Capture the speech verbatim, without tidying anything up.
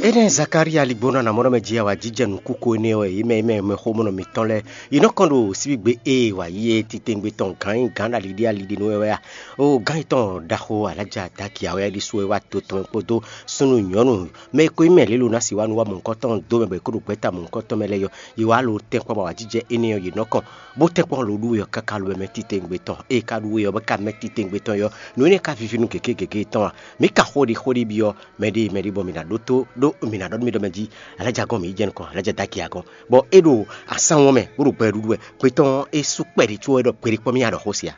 Énɛ́ Zakária ligbónɔ anamɔ́ɖɔmɛ jí awǎjijɛ nǔkúko énɛ́ ɔ́, yě mɛ e mɛ mɛxómɔnɔ mǐtɔn lɛ́ɛ, yě nɔ kɔn ɖo síbígbe e wǎ yi é titewungbe tɔn gǎn nyí gǎn ɖo ali ɖé ali ɖé nú wɛ wɛ a? Oo, gǎn yětɔn ɖaxó Alájà Daki awɛ ɖésú wɛ wá to tɔn mɛ kpódó súnnu nyɔ̌nu mɛ e ko nyí mɛ lě lo ná si wá nu wá mɔ̌hunkɔtɔn dó mɛ bɔ è kó ɖo gbɛ̌ta mɔ̌hunkɔtɔn mɛ lɛ́ɛ yɔ, yě wá lo tɛnkpɔ́n bɔ awǎjijɛ énɛ́ ɔ́ yě nɔ kɔn, bó tɛnkpɔ́n lo ɖú we ɔ́ káká lo wɛ mɛ titewungbe tɔn. Ée ka ɖú we ɔ́ bɔ é ka mɛ titewungbe tɔn yɔ, nǔ énɛ́ ka víví nú gěgé gěgé tɔn a? Mǐ ka xó ɖi xó ɖi byɔ́ mɛɖée mɛɖée bɔ mǐ ná ɖótó ɖó mǐ ná ɖɔ nú mì ɖɔ mɛ jí, Alájà gɔ́n mǐ yi jɛ nukɔn, Alájà Daki a gɔ́n, bɔ é ɖo asán wɔn mɛ bó ɖo gbɛ ɖuɖu wɛ. Gbetɔ́ ɔ́, é sú kpɛɖé có wɛ ɖɔ kpeɖé kpɔ́n mì a ɖɔ xó se a?